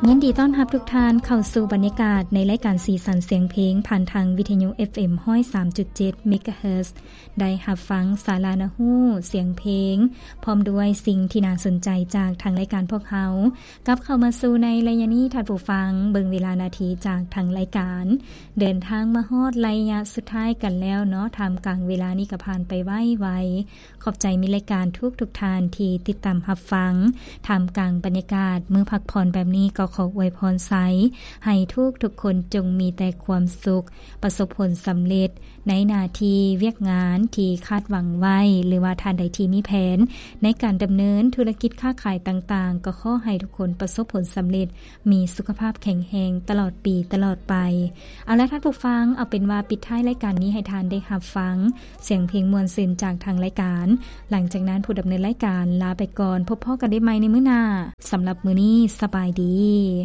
ຍິນດີຕ້ອນຮັບທຸກທ່ານເຂົ້າສູ່ບັນຍາກາດໃນລາຍການສີສັນສຽງເພງ ຜ່ານທາງວິທະຍຸ ເອຟເອັມ ຮ້ອຍສາມຈຸດເຈັດ ເມກາເຮີດ. ໄດ້ຮັບຟັງສາລະໜ້າຮູ້ສຽງເພງ ພ້ອມດ້ວຍສິ່ງທີ່ໜ້າສົນໃຈຈາກທາງລາຍການພວກເຮົາ. ກັບເຂົ້າມາສູ່ໃນໄລຍະນີ້ ທ່ານຜູ້ຟັງ ເບິ່ງເວລານາທີຈາກທາງລາຍການ ເດີນທາງມາຮອດໄລຍະສຸດທ້າຍກັນແລ້ວເນາະ. ທ່າມກາງເວລານີ້ກໍຜ່ານໄປໄວໆ. ຂອບໃຈມິດລາຍການທຸກໆທ່ານທີ່ຕິດຕາມຮັບຟັງ. ທ່າມກາງບັນຍາກາດມື້ພັກຜ່ອນແບບນີ້ ກໍຂໍອວຍພອນໃສ່ໃຫ້ທຸກໆຄົນຈົ່ງມີແຕ່ຄວາມສຸກ, ປະສົບຜົນສຳເລັດໃນໜ້າທີ່ວຽກງານທີ່ຄາດຫວັງໄວ້ ຫຼືວ່າທ່ານໃດທີ່ມີແຜນໃນການດຳເນີນທຸລະກິດຄ້າຂາຍຕ່າງໆ ກໍຂໍໃຫ້ທຸກຄົນປະສົບຜົນສຳເລັດ, ມີສຸຂະພາບແຂງແຮງຕະຫຼອດປີຕະຫຼອດໄປ. ເອົາລະທ່ານຜູ້ຟັງ, ເອົາເປັນວ່າປິດທ້າຍລາຍການນີ້ໃຫ້ທ່ານໄດ້ຮັບຟັງສຽງເພງມ່ວນຊື່ນຈາກທາງລາຍການ. ຫຼັງຈາກນັ້ນຜູ້ດຳເນີນລາຍການລາໄປກ່ອນ, ພົບພໍ້ກັນໄດ້ໃໝ່ໃນມື້ໜ້າ. ສຳລັບມື້ນີ້, ສະບາຍດີ.